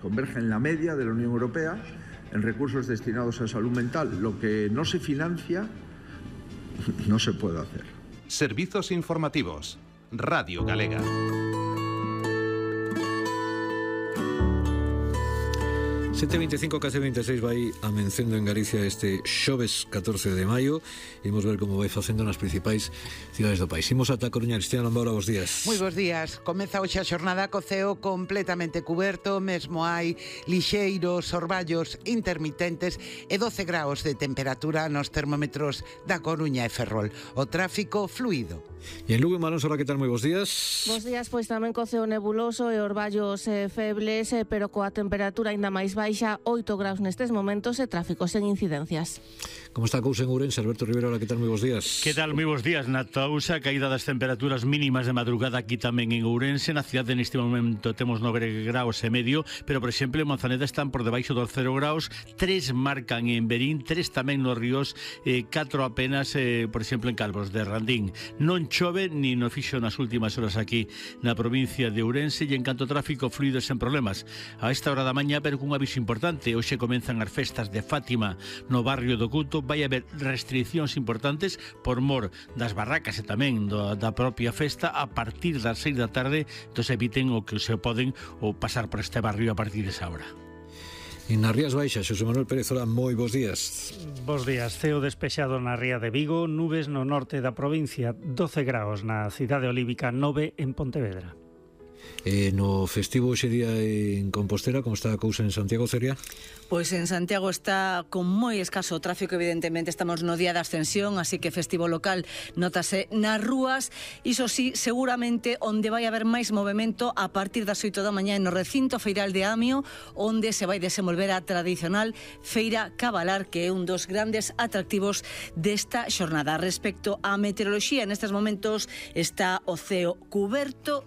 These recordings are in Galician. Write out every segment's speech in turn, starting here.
converge en la media de la Unión Europea en recursos destinados a salud mental. Lo que no se financia no se puede hacer. Servizos informativos. Radio Galega. Sete 25, case 26 vai amencendo en Galicia este xoves 14 de maio. Imos ver como vai facendo nas principais cidades do país. Imos ata Coruña. Cristina Lombaura, bos días. Moi bos días. Comeza hoxe a xornada co ceo completamente cuberto. Mesmo hai lixeiros orballos intermitentes e 12 graus de temperatura nos termómetros da Coruña e Ferrol. O tráfico fluido. E en Lugo, Malón Sora, que tal? Moi bos días. Bos días, pois tamén co ceo nebuloso e orballos febles, pero coa temperatura aínda máis baixa, 8 graus nestes momentos e tráfico sen incidencias. Como está a cousa en Ourense? Alberto Rivera, hola, que tal? Moi bos días. Que tal? Moi bos días. Na Tousa, caída das temperaturas mínimas de madrugada aquí tamén en Ourense. Na cidade neste momento temos 9 graus e medio, pero por exemplo en Manzaneda están por debaixo dos 0 graus, 3 marcan en Berín, 3 tamén nos ríos, 4 apenas, por exemplo en Calvos de Randín. Non chove ni no fixo nas últimas horas aquí na provincia de Ourense e en canto tráfico fluido sen problemas. A esta hora da mañá, pero cun aviso importante, hoxe comenzan as festas de Fátima no barrio do Couto. Vai haber restriccións importantes por mor das barracas e tamén da propia festa a partir das 6 da tarde, entón eviten o que se poden ou pasar por este barrio a partir desa hora. En nas Rías Baixas, Xosé Manuel Pérez, hola, moi bos días. Bos días, ceo despexado na ría de Vigo, nubes no norte da provincia, 12 graus na cidade olívica, 9 en Pontevedra. No festivo hoxe día en Compostela, como está a cousa en Santiago, Celia? Pois en Santiago está con moi escaso tráfico, evidentemente estamos no día da ascensión, así que festivo local notase nas rúas. Iso sí, seguramente onde vai haber máis movimento a partir das 8 da mañá no recinto feiral de Amio, onde se vai desenvolver a tradicional Feira Cabalar, que é un dos grandes atractivos desta xornada. Respecto á meteoroloxía, nestes momentos está o ceo cuberto,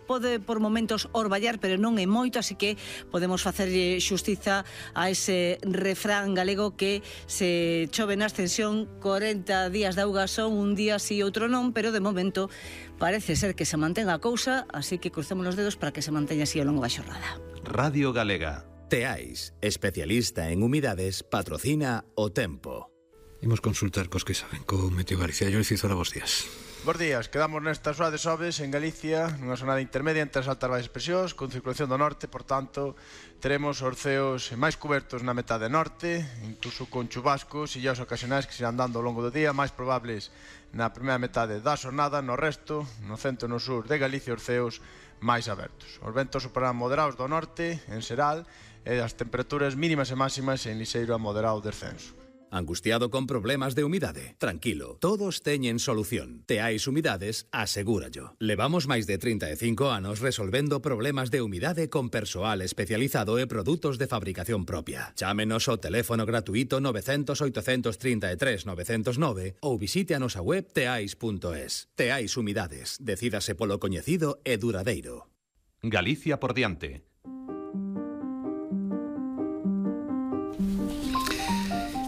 pode por momentos orballar, pero non é moito, así que podemos facer xustiza a ese refrán galego que se chove na ascensión 40 días de auga son, un día sí, outro non, pero de momento parece ser que se mantenga a cousa, así que crucemos os dedos para que se manteña así ao longo da xornada. Radio Galega. Teais, especialista en humidades, patrocina O Tempo. Imos consultar cos que saben co Meteo Galicia. Yo Cizora, bos días. Bos días, quedamos nesta soa de xoves en Galicia, nunha zona intermedia entre as altas e baixas presións, con circulación do norte, por tanto, teremos os ceos máis cubertos na metade norte, incluso con chubascos e illas ocasionais que se irán dando ao longo do día, máis probables na primeira metade da xornada, no resto, no centro e no sur de Galicia, os ceos máis abertos. Os ventos superarán moderados do norte, en xeral, e as temperaturas mínimas e máximas en lixeiro a moderado descenso. Angustiado con problemas de humidade? Tranquilo, todos teñen solución. Teais Humidades, asegúrallo. Levamos máis de 35 anos resolvendo problemas de humidade con persoal especializado e produtos de fabricación propia. Chámenos ao teléfono gratuito 900 833 909 ou visite a nosa web teais.es. Teais Humidades, decídase polo coñecido e duradeiro. Galicia por diante.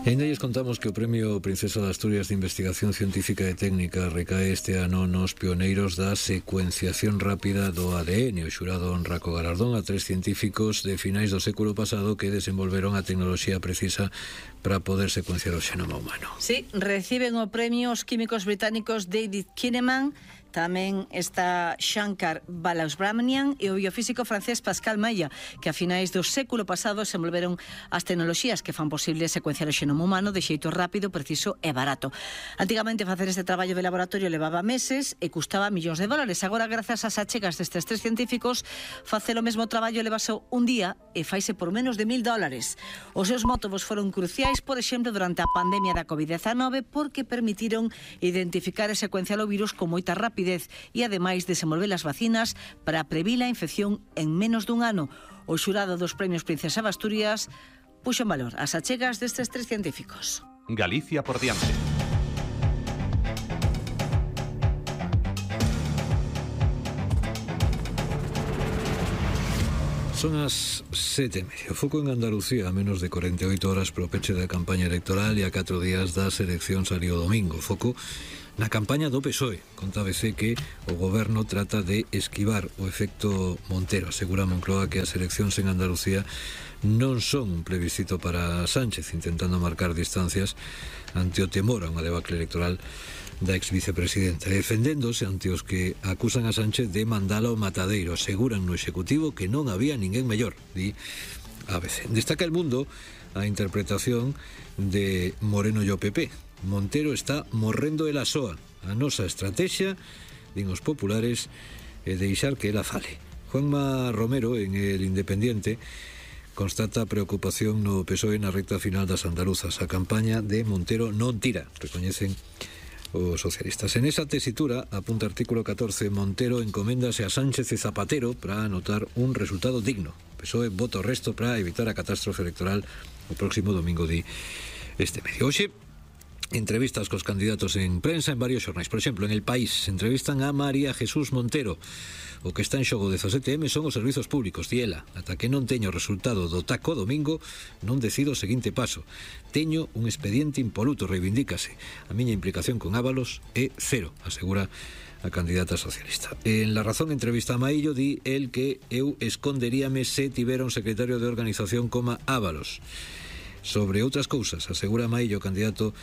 E ainda lles contamos que o Premio Princesa de Asturias de Investigación Científica e Técnica recae este ano nos pioneiros da secuenciación rápida do ADN. O xurado honra co galardón a 3 científicos de finais do século pasado que desenvolveron a tecnoloxía precisa para poder secuenciar o xenoma humano. Sí, reciben o premio os químicos británicos David Kinneman, tamén está Shankar Balasubramanian e o biofísico francés Pascal Maya, que a finais do século pasado desenvolveron as tecnoloxías que fan posible secuenciar o xenoma humano de xeito rápido, preciso e barato. Antigamente facer este traballo de laboratorio levaba meses e custaba millóns de dólares. Agora, grazas ás achegas destes 3 científicos, facer o mesmo traballo levase un día e faise por menos de $1.000. Os seus métodos foron cruciais, por exemplo, durante a pandemia da COVID-19, porque permitiron identificar e secuenciar o virus con moita rapidez e ademais desenvolver as vacinas para previr a infección en menos dun ano. O xurado dos premios Princesa de Asturias puxo en valor as achegas destes 3 científicos. Galicia por diante. Son as 7:30. O foco en Andalucía, a menos de 48 horas pro peche da campaña electoral e a 4 días das eleccións ali o domingo. O foco Na campaña do PSOE conta ABC que o goberno trata de esquivar o efecto Montero. Asegura Moncloa que as eleccións en Andalucía non son un plebiscito para Sánchez, intentando marcar distancias ante o temor a unha debacle electoral da ex-vicepresidenta, defendéndose ante os que acusan a Sánchez de mandala ao matadeiro. Aseguran no Executivo que non había ninguén mellor, di ABC. Destaca El Mundo a interpretación de Moreno e o PP. Montero está morrendo ela soa. A nosa estrategia, din os populares, é deixar que ela fale. Juanma Romero, en El Independiente, constata preocupación no PSOE na recta final das andaluzas. A campaña de Montero non tira, recoñecen os socialistas. En esa tesitura, apunta artículo 14, Montero encoméndase a Sánchez e Zapatero para anotar un resultado digno. PSOE vota o resto para evitar a catástrofe electoral o próximo domingo, di este medio. Hoxe, entrevistas cos candidatos en prensa en varios xornais. Por exemplo, en El País entrevistan a María Jesús Montero. O que está en xogo 17M son os servizos públicos, di ela. Ata que non teño o resultado do taco domingo, non decido o seguinte paso. Teño un expediente impoluto, reivindícase. A miña implicación con Ábalos é cero, asegura a candidata socialista. En La Razón entrevista a Maillo, di el que eu esconderíame se tivera un secretario de organización como Ábalos. Sobre outras cousas, asegura Maillo, candidato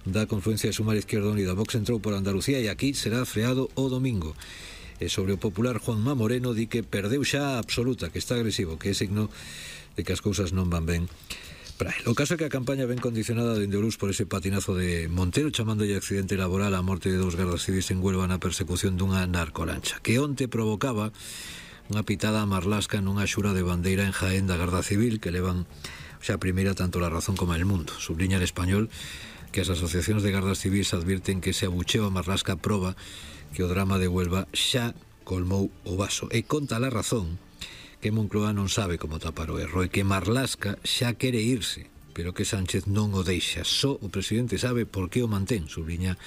da confluencia de Sumar Izquierda Unida. Vox entrou por Andalucía e aquí será freado o domingo. E sobre o popular Juanma Moreno, di que perdeu xa a absoluta, que está agresivo, que é signo de que as cousas non van ben para el. O caso é que a campaña ven condicionada dende o Luz por ese patinazo de Montero, chamándolle accidente laboral a morte de 2 gardas civis en Huelva na persecución dunha narcolancha, que onte provocaba unha pitada a Marlasca nunha xura de bandeira en Jaén da Garda Civil, que levan xa a primeira tanto La Razón como El Mundo. Subliña El Español que as asociacións de gardas civis advirten que ese abucheo a Marlasca proba que o drama de Huelva xa colmou o vaso. E conta La Razón que Moncloa non sabe como tapar o erro e que Marlasca xa quere irse, pero que Sánchez non o deixa. Só o presidente sabe por que o mantén, subliña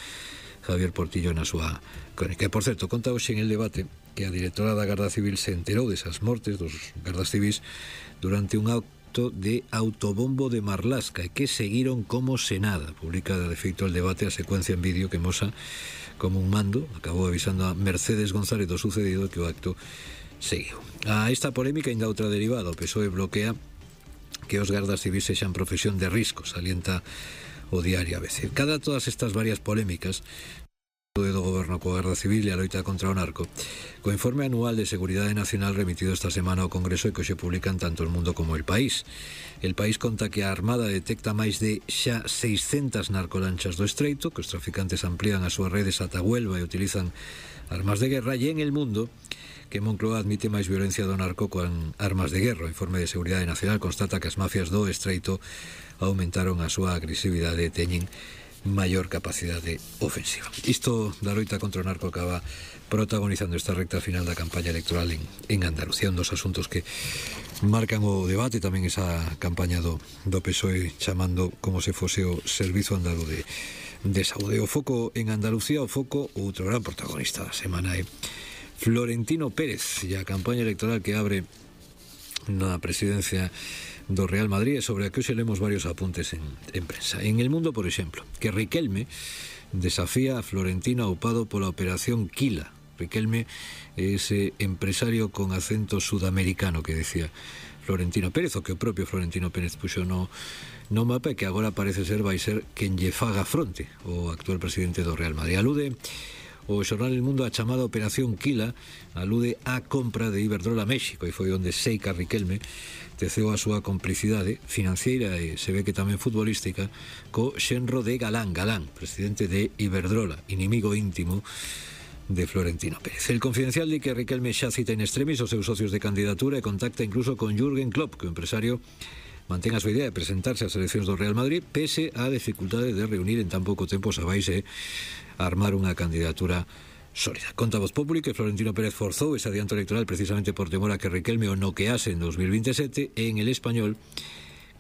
Javier Portillo na súa crónica. E, por certo, conta hoxe en El Debate que a directora da Garda Civil se enterou desas mortes dos gardas civis durante un acto de autobombo de Marlasca e que seguiron como se nada. Publica de feito El Debate a secuencia en vídeo que mosa como un mando acabou avisando a Mercedes González do sucedido que o acto seguiu. A esta polémica ainda outra derivada. O PSOE bloquea que os gardas civis sexan profesión de risco, salienta o diario ABC. Cada todas estas varias polémicas do goberno coa Garda Civil e a loita contra o narco, co informe anual de Seguridade Nacional remitido esta semana ao Congreso e que hoxe publican tanto El Mundo como El País. El País conta que a Armada detecta máis de xa 600 narcolanchas do Estreito, que os traficantes amplían as súas redes ata Huelva e utilizan armas de guerra, e en El Mundo que Moncloa admite máis violencia do narco con armas de guerra. O informe de Seguridade Nacional constata que as mafias do Estreito aumentaron a súa agresividade e teñen maior capacidade ofensiva. Isto da loita contra o narco acaba protagonizando esta recta final da campaña electoral en Andalucía, un dos asuntos que marcan o debate, tamén esa campaña do PSOE chamando como se fose o Servizo Andaluz de Saúde. O foco en Andalucía, o foco, outro gran protagonista da semana é Florentino Pérez e a campaña electoral que abre na presidencia do Real Madrid, sobre a que hoxe lemos varios apuntes en prensa. En El Mundo, por exemplo, que Riquelme desafía a Florentino aupado pola operación Quila. Riquelme é ese empresario con acento sudamericano que decía Florentino Pérez, o que o propio Florentino Pérez puxo no mapa e que agora parece ser vai ser quen lle faga fronte o actual presidente do Real Madrid. Alude o xornal El Mundo a chamada Operación Quila, alude á compra de Iberdrola México, e foi onde Seica Riquelme teceu a súa complicidade financiera e se ve que tamén futbolística co xenro de Galán, presidente de Iberdrola, inimigo íntimo de Florentino Pérez. El Confidencial di que Riquelme xa cita in extremis os seus socios de candidatura e contacta incluso con Jürgen Klopp, que o empresario mantén a súa idea de presentarse ás eleccións do Real Madrid pese á dificultade de reunir en tan pouco tempo sabáis armar unha candidatura sólida. Conta Voz Populi que Florentino Pérez forzou ese adianto electoral precisamente por temor a que Riquelme o noquease en 2027, e en El Español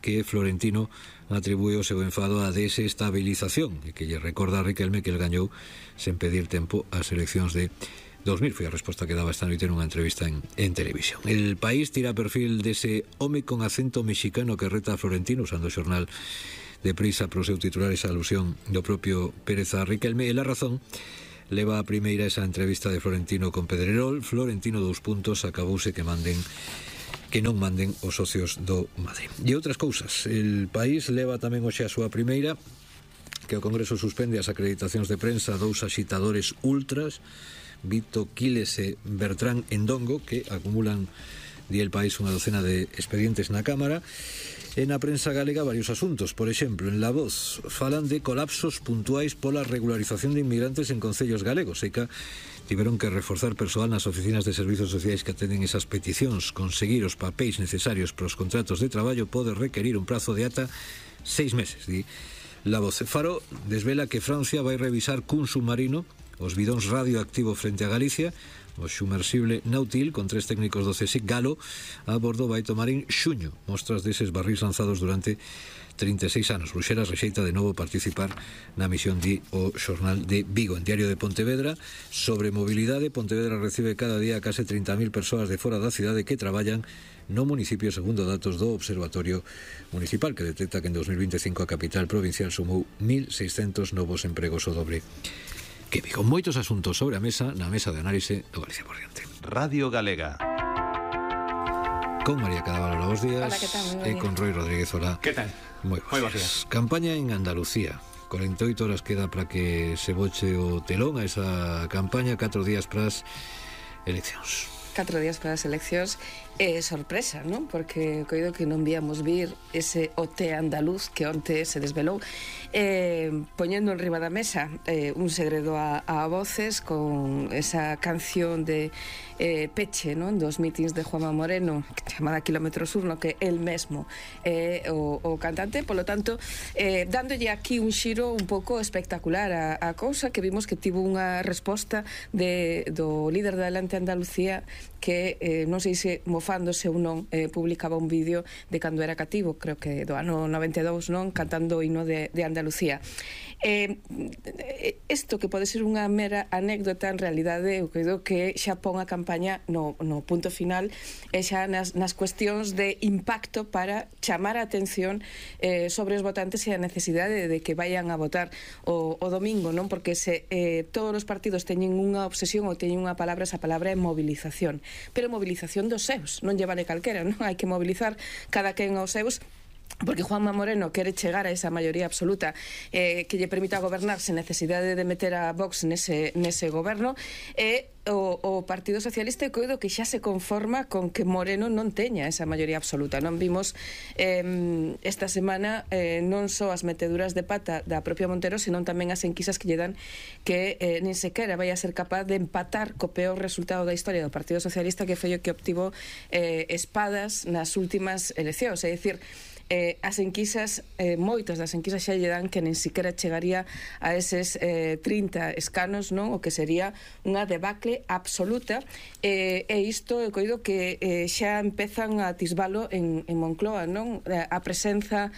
que Florentino atribúe o seu enfado á desestabilización e que lle recorda a Riquelme que el gañou sen pedir tempo ás eleccións de 2000. Foi a resposta que daba esta noite nunha entrevista en televisión. El País tira perfil dese home con acento mexicano que reta a Florentino usando o xornal deprisa para o seu titular esa alusión do propio Pérez a Riquelme. E La Razón leva a primeira esa entrevista de Florentino con Pedrerol. Florentino, 2 puntos, acabouse que non manden os socios do Madrid. E outras cousas, El País leva tamén hoxe a súa primeira, que o Congreso suspende as acreditacións de prensa a 2 axitadores ultras, Vito Quiles e Bertrán Endongo, que acumulan, di El País, unha docena de expedientes na Cámara. E na prensa galega varios asuntos. Por exemplo, en La Voz falan de colapsos puntuais pola regularización de inmigrantes en concellos galegos, e que tiveron que reforzar persoal nas oficinas de servizos sociais que atenden esas peticións. Conseguir os papéis necesarios para os contratos de traballo pode requerir un prazo de ata 6 meses, di La Voz. Faro desvela que Francia vai revisar cun submarino os bidóns radioactivos frente a Galicia. O submersible Nautil, con 3 técnicos do CSIC Galo a bordo, vai tomar en xuño mostras deses barrís lanzados durante 36 anos. Bruxelas rexeita de novo participar na misión, di o xornal de Vigo. En Diario de Pontevedra, sobre mobilidade, Pontevedra recibe cada día case 30.000 persoas de fora da cidade que traballan no municipio, segundo datos do Observatorio Municipal, que detecta que en 2025 a capital provincial sumou 1.600 novos empregos, o dobre que Vigo. Moitos asuntos sobre a mesa na mesa de análise do Galicia por diante. Radio Galega. Con María Cadavalo, buenos días. Hola, ¿qué tal? E con Roy Rodríguez, hola. ¿Qué tal? Moi buenos días. Campaña en Andalucía. 48 horas queda para que se boche o telón a esa campaña, 4 días para as eleccións. 4 días para as eleccións. Sorpresa, non? Porque coido que non víamos vir ese OT andaluz que onte se desvelou, poñendo en riba da mesa un segredo a voces con esa canción de peche, non? Dos mítins de Juanma Moreno, chamada Kilómetro Sur, no que el mesmo o cantante. Polo tanto, dándolle aquí un xiro un pouco espectacular a cousa, que vimos que tivo unha resposta do líder de Adelante Andalucía, que non sei se mofándose ou non, publicaba un vídeo de cando era cativo, creo que do ano 92, non? Cantando o hino de Andalucía. Isto que pode ser unha mera anécdota, en realidade eu creo que xa pon a campaña no punto final, e xa nas cuestións de impacto para chamar a atención sobre os votantes e a necesidade de que vayan a votar o domingo, non? Porque se todos os partidos teñen unha obsesión ou teñen unha palabra, esa palabra é movilización, pero movilización dos seus, non lle vale calquera, non? Hai que mobilizar cada quen aos seus, porque Juanma Moreno quere chegar a esa maioría absoluta que lle permita gobernar sen necesidade de meter a Vox nese goberno, e o Partido Socialista, coido que xa se conforma con que Moreno non teña esa maioría absoluta. Non vimos esta semana non só as meteduras de pata da propia Montero, senón tamén as enquisas que lle dan que nin sequera vai a ser capaz de empatar co peor resultado da historia do Partido Socialista, que foi o que obtivo espadas nas últimas eleccións. É dicir, as enquisas, moitas das enquisas xa lle dan que nin siquiera chegaría a eses 30 escanos, non? O que sería unha debacle absoluta, e isto eu coido que xa empezan a atisbalo en Moncloa, non? A presenza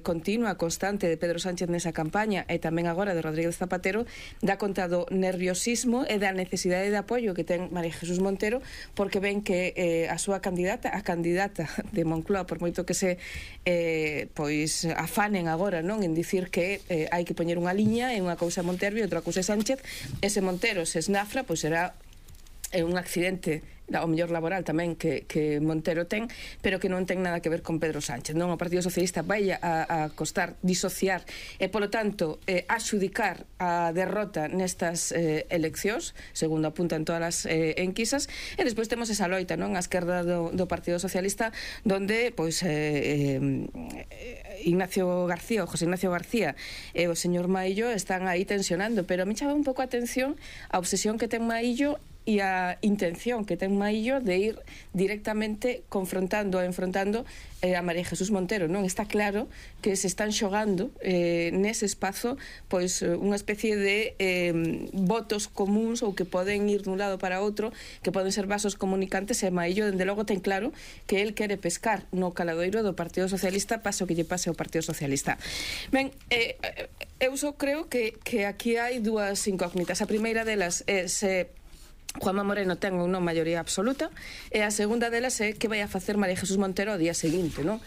continua, constante de Pedro Sánchez nesa campaña, e tamén agora de Rodríguez Zapatero, dá conta do nerviosismo e da necesidade de apoio que ten María Jesús Montero, porque ven que a súa candidata, a candidata de Moncloa, por moito que se pois afanen agora, non? En dicir que hai que poñer unha liña e unha cousa Montero e outra cousa Sánchez, ese Montero se esnafra, pois será un accidente ao mellor laboral tamén que Montero ten, pero que non ten nada que ver con Pedro Sánchez, non? O Partido Socialista vai a costar disociar e, polo tanto, axudicar a derrota nestas eleccións, segundo apuntan todas as enquisas, e despois temos esa loita, non? A esquerda do Partido Socialista, donde, pois, Ignacio García, o José Ignacio García e o señor Maillo están aí tensionando, pero a mí chama un pouco a atención a obsesión que ten Maillo e a intención que ten Maillo de ir directamente confrontando e enfrontando a María Jesús Montero, non? Está claro que se están xogando nese espazo pois unha especie de votos comuns ou que poden ir dun lado para outro, que poden ser vasos comunicantes, e Maillo dende logo ten claro que el quere pescar no caladoiro do Partido Socialista, pase o que lle pase ao Partido Socialista. Ben, eu só creo que aquí hai dúas incógnitas. A primeira delas é se Juanma Moreno ten ou non maioría absoluta, e a segunda delas é que vai a facer María Jesús Montero ao día seguinte, non?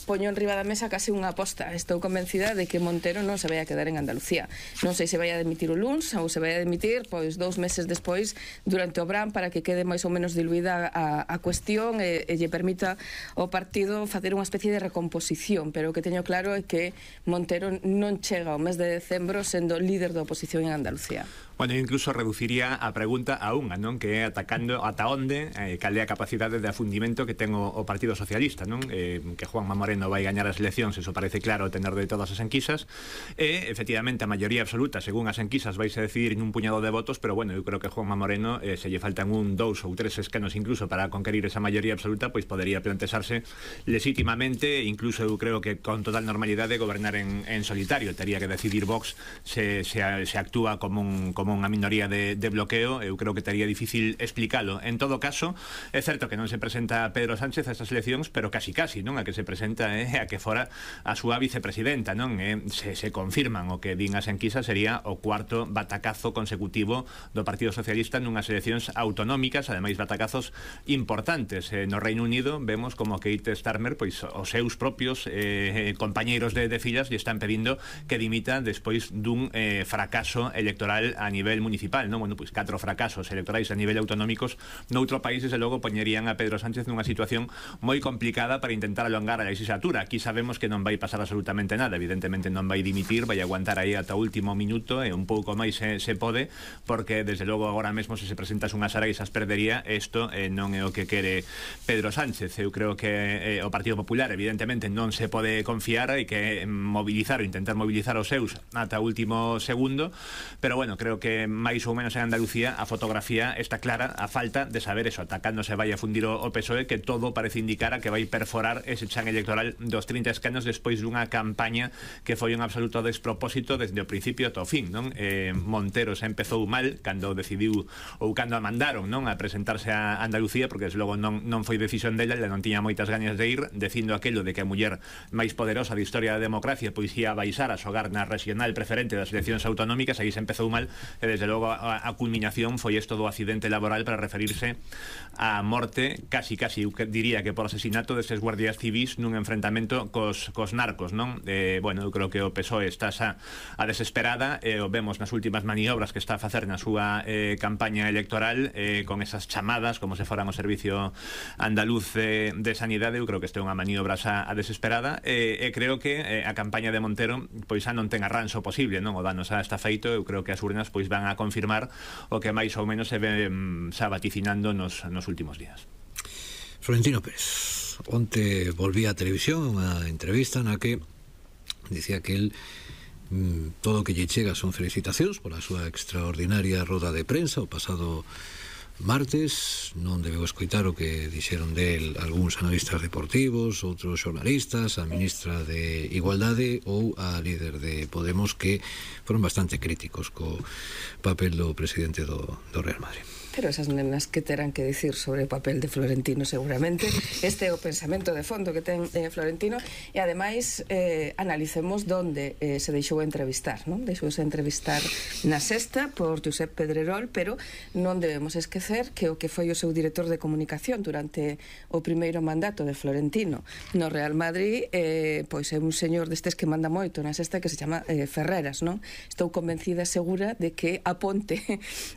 poño en riba da mesa casi unha aposta. Estou convencida de que Montero non se vai a quedar en Andalucía. Non sei se vai a demitir o luns ou se vai a demitir 2 meses despois durante o Brán, para que quede máis ou menos diluída a cuestión e lle permita ao partido facer unha especie de recomposición. Pero o que teño claro é que Montero non chega ao mes de decembro sendo líder da oposición en Andalucía. Bueno, incluso reduciría a pregunta a unha, non? Que é atacando ata onde, cal é a capacidade de afundimento que ten o Partido Socialista, non? Que Juanma Moreno vai gañar as eleccións, eso parece claro tener de todas as enquisas, e, efectivamente, a maioría absoluta, según as enquisas, vais a decidir nun puñado de votos, pero, bueno, eu creo que Juanma Moreno, se lle faltan 1, 2 ou 3 escanos incluso para conquerir esa maioría absoluta, pois podería plantexarse legítimamente, incluso eu creo que con total normalidade, gobernar en solitario. Tería que decidir Vox se actúa como unha minoría de bloqueo. Eu creo que estaría difícil explicalo. En todo caso, é certo que non se presenta Pedro Sánchez a estas eleccións, pero casi, non? A que se presenta a que fora a súa vicepresidenta, non? Se confirman o que din as enquisas, sería o 4º batacazo consecutivo do Partido Socialista nunhas eleccións autonómicas, ademais batacazos importantes. No Reino Unido vemos como Keir Starmer, pois os seus propios compañeiros de filas lle están pedindo que dimita despois dun fracaso electoral a nivel municipal, non? Bueno, pois 4 fracasos electorais a nivel autonómicos noutro país, desde logo, poñerían a Pedro Sánchez nunha situación moi complicada para intentar alongar a legislatura. Aquí sabemos que non vai pasar absolutamente nada, evidentemente non vai dimitir, vai aguantar aí ata o último minuto e un pouco máis se pode, porque desde logo agora mesmo se presentas unhas araixas perdería. Isto non é o que quere Pedro Sánchez. Eu creo que o Partido Popular evidentemente non se pode confiar, hai que mobilizar ou intentar mobilizar os seus ata o último segundo, pero bueno, creo que máis ou menos en Andalucía a fotografía está clara, a falta de saber eso, atacando se vai a fundir o PSOE, que todo parece indicar a que vai perforar ese chan electoral dos 30 escanos despois dunha campaña que foi un absoluto despropósito desde o principio ata o fin, non? Montero se empezou mal cando decidiu ou cando a mandaron, non? A presentarse a Andalucía, porque desde logo non foi decisión dela, ela non tiña moitas gañas de ir, dicindo aquello de que a muller máis poderosa da historia da democracia pois ia baixar a xogar na regional preferente das eleccións autonómicas. Aí se empezou mal e desde logo a culminación foi isto do accidente laboral para referirse á morte, casi eu diría que por asesinato deses guardias civis nun enfrentamento cos narcos, non? Bueno, eu creo que o PSOE está xa a desesperada, o vemos nas últimas maniobras que está a facer na súa campaña electoral, con esas chamadas como se foran o Servicio Andaluz de Sanidade. Eu creo que este é unha maniobra xa a desesperada, e creo que a campaña de Montero pois xa non ten arranxo posible, non? O dano xa está feito. Eu creo que as urnas pois van a confirmar o que máis ou menos se ve xa vaticinando nos últimos días. Florentino Pérez onte volvía a televisión unha entrevista na que dicía que el todo o que lle chega son felicitacións pola súa extraordinaria roda de prensa o pasado martes. Non debeu escoitar o que dixeron del algúns analistas deportivos, outros xornalistas, a ministra de Igualdade ou a líder de Podemos, que foron bastante críticos co papel do presidente do Real Madrid. Pero esas nenas que terán que dicir sobre o papel de Florentino, seguramente. Este é o pensamento de fondo que ten Florentino. E ademais analicemos donde se deixou entrevistar, non? Deixouse entrevistar na Sexta por Josep Pedrerol, pero non debemos esquecer que o que foi o seu director de comunicación durante o primeiro mandato de Florentino no Real Madrid, pois é un señor destes que manda moito na Sexta, que se chama Ferreras, non? Estou convencida, segura, de que a ponte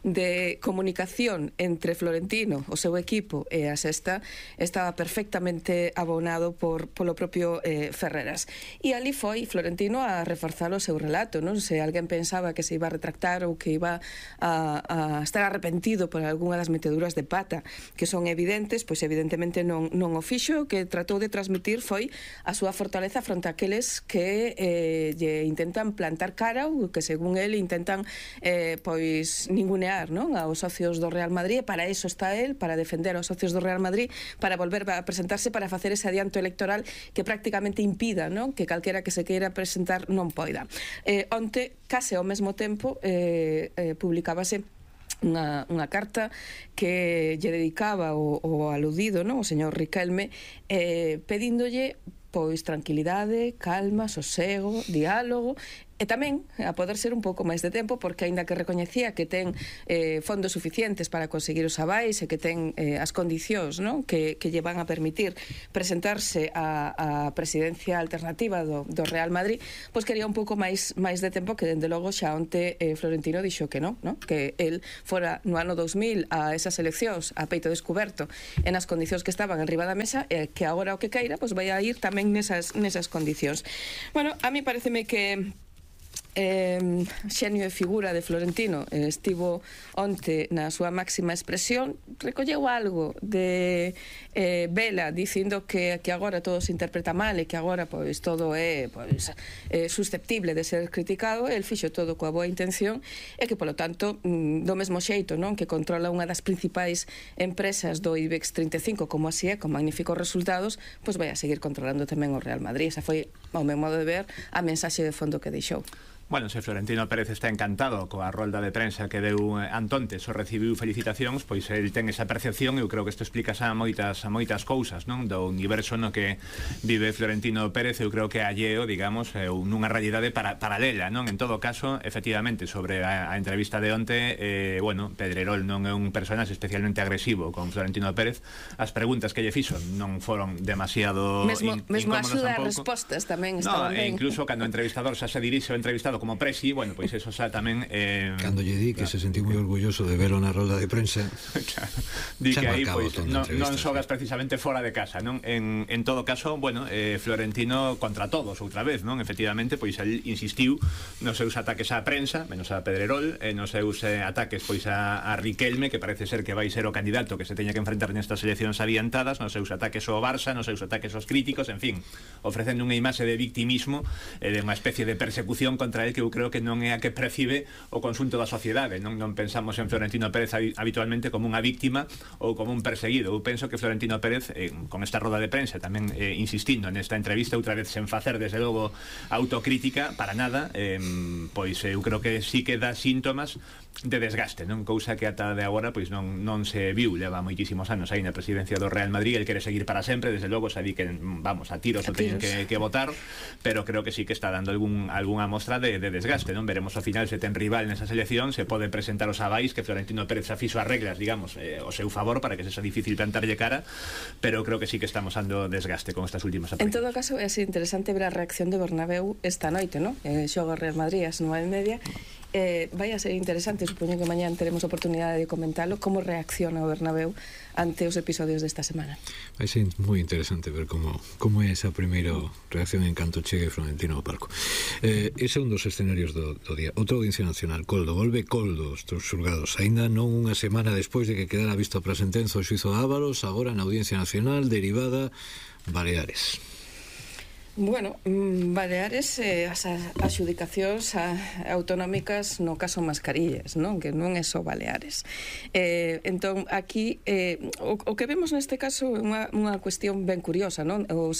de comunicación entre Florentino, o seu equipo e a Sexta estaba perfectamente abonado polo propio Ferreras. E ali foi Florentino a reforzar o seu relato, non? Se alguén pensaba que se iba a retractar ou que iba a estar arrepentido por algunha das meteduras de pata que son evidentes, pois evidentemente non o fixo. O que tratou de transmitir foi a súa fortaleza fronte a aqueles que lle intentan plantar cara ou que según ele intentan pois ningunear, non? Aos socios do Real Madrid, e para eso está él, para defender aos socios do Real Madrid, para volver a presentarse, para facer ese adianto electoral que prácticamente impida, non? Que calquera que se queira presentar non poida. Onte, case ao mesmo tempo, publicábase unha carta que lle dedicaba o aludido, non? O señor Riquelme, pedíndolle pois tranquilidade, calma, sosego, diálogo, e tamén a poder ser un pouco máis de tempo, porque aínda que recoñecía que ten fondos suficientes para conseguir os avais e que ten as condicións, non? Que lle van a permitir presentarse a presidencia alternativa do Real Madrid, pois quería un pouco máis de tempo, que dende logo xa onte Florentino dixo que non, que el fora no ano 2000 a esas eleccións a peito descuberto e nas condicións que estaban en riba da mesa, e que agora o que caira pois vai a ir tamén nesas condicións. Bueno, a mí pareceme que xenio e figura de Florentino estivo onte na súa máxima expresión, recolleu algo de Vela dicindo que agora todo se interpreta mal e que agora pois todo é susceptible de ser criticado, e el fixo todo coa boa intención, e que polo tanto do mesmo xeito, non, que controla unha das principais empresas do IBEX 35 como así é, con magníficos resultados, pois vai a seguir controlando tamén o Real Madrid. Esa foi, ao meu modo de ver, a mensaxe de fondo que deixou. Bueno, se Florentino Pérez está encantado coa rolda de prensa que deu Antonte, só recibiu felicitacións, pois el ten esa percepción. Eu creo que isto explica xa moitas cousas, non? Do universo no que vive Florentino Pérez, eu creo que é alleo, digamos, nunha realidade paralela, non? En todo caso, efectivamente, sobre a entrevista de onte, bueno, Pedrerol non é un personaxe especialmente agresivo con Florentino Pérez. As preguntas que lle fixo non foron demasiado mesmo a súa respostas tamén estaban ben. Incluso cando o entrevistador xa se dirixe ao entrevistado como presi, bueno, pois eso xa tamén cando lle di que se sentiu moi orgulloso de verlo na rolda de prensa, claro, di que aí pois non xogas precisamente fora de casa, non? En todo caso, bueno, Florentino contra todos outra vez, non? Efectivamente, pois el insistiu nos seus ataques á prensa, menos a Pedrerol, nos seus ataques pois a Riquelme, que parece ser que vai ser o candidato que se teña que enfrentar nestas eleccións adiantadas, nos seus ataques ao Barça, nos seus ataques aos críticos, en fin, ofrecendo unha imaxe de victimismo, de unha especie de persecución contra el que eu creo que non é a que percibe o conxunto da sociedade. Non pensamos en Florentino Pérez habitualmente como unha víctima ou como un perseguido. Eu penso que Florentino Pérez, con esta roda de prensa, tamén insistindo nesta entrevista, outra vez sen facer desde logo autocrítica para nada, pois eu creo que sí que dá síntomas de desgaste, non? Cousa que ata de agora pois non se viu, leva moitísimos anos aí na presidencia do Real Madrid. El quere seguir para sempre, desde logo xa di que vamos a tiros o teñen que votar, pero creo que sí que está dando algunha mostra de desgaste, non? Veremos ao final se ten rival nesas eleccións, se pode presentar os avais que Florentino Pérez xa fixo as reglas, digamos, ao seu favor para que sexa difícil plantarlle cara, pero creo que sí que estamos ando desgaste con estas últimas aparicións. En todo caso, é así interesante ver a reacción de Bernabéu esta noite, non? Xoga o Real Madrid ás 9:30. Vai a ser interesante, supoño que mañán teremos oportunidade de comentalo, como reacciona o Bernabéu ante os episodios desta semana. Vai ser moi interesante ver como é esa primeira reacción en canto chegue Florentino ao palco. Ese é un dos escenarios do día. Outra audiencia nacional, Coldo, volve Coldo, os xulgados, aínda non unha semana despois de que quedara visto para sentenza o xuízo de Ábalos, agora na audiencia nacional derivada Baleares. Bueno, Baleares, as adxudicacións autonómicas no caso Mascarillas, non? Que non é só Baleares. Entón, aquí, o que vemos neste caso é unha cuestión ben curiosa, non? O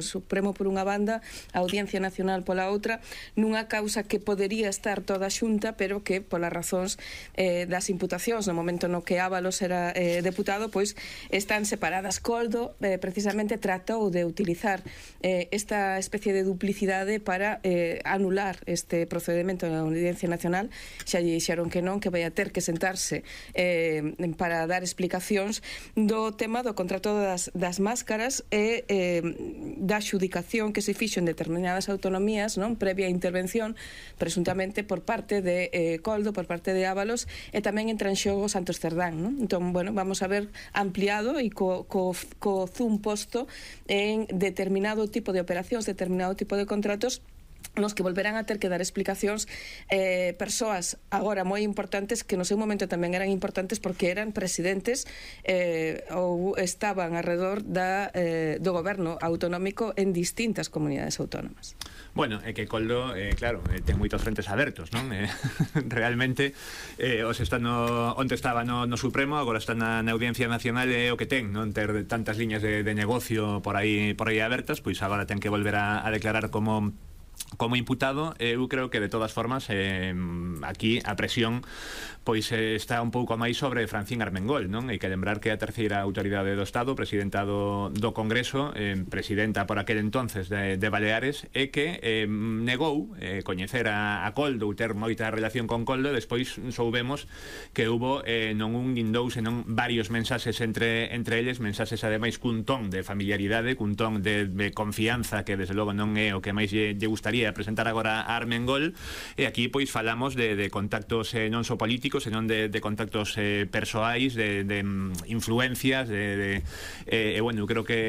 Supremo por unha banda, a Audiencia Nacional pola outra, nunha causa que podería estar toda xunta, pero que, polas razóns das imputacións, no momento no que Ábalos era deputado, pois están separadas. Coldo, precisamente, tratou de utilizar esta especie de duplicidade para anular este procedimento na Audiencia Nacional. Xa lle dixeron que non, que vai a ter que sentarse para dar explicacións do tema do contrato das máscaras e da xudicación que se fixo en determinadas autonomías, non, previa intervención presuntamente por parte de Coldo, por parte de Ábalos, e tamén entra en xogo Santos Cerdán, non? Entón, bueno, vamos a ver ampliado e co zoom posto en determinado tipo de operación, determinado tipo de contratos nos que volverán a ter que dar explicacións persoas agora moi importantes que no seu momento tamén eran importantes porque eran presidentes ou estaban alrededor do goberno autonómico en distintas comunidades autónomas. Bueno, é que Coldo, claro, ten moitos frentes abertos, non? Realmente, onde estaba no Supremo, agora está na Audiencia Nacional, é o que ten, non ter tantas liñas de negocio por aí abertas, pois agora ten que volver a declarar como imputado. Eu creo que de todas formas aquí a presión pois está un pouco máis sobre Francín Armengol, non? Hai que lembrar que a terceira autoridade do Estado, presidenta do Congreso, presidenta por aquel entonces de Baleares, e que negou coñecer a Koldo, ter moita relación con Koldo. Despois soubemos que hubo non un nin dous, senón varios mensaxes entre eles, mensaxes ademais cun ton de familiaridade, cun ton de confianza que desde logo non é o que máis lle gustaría presentar agora a Armengol. E aquí pois falamos de contactos non só políticos, senón de contactos persoais, de influencias, bueno, creo que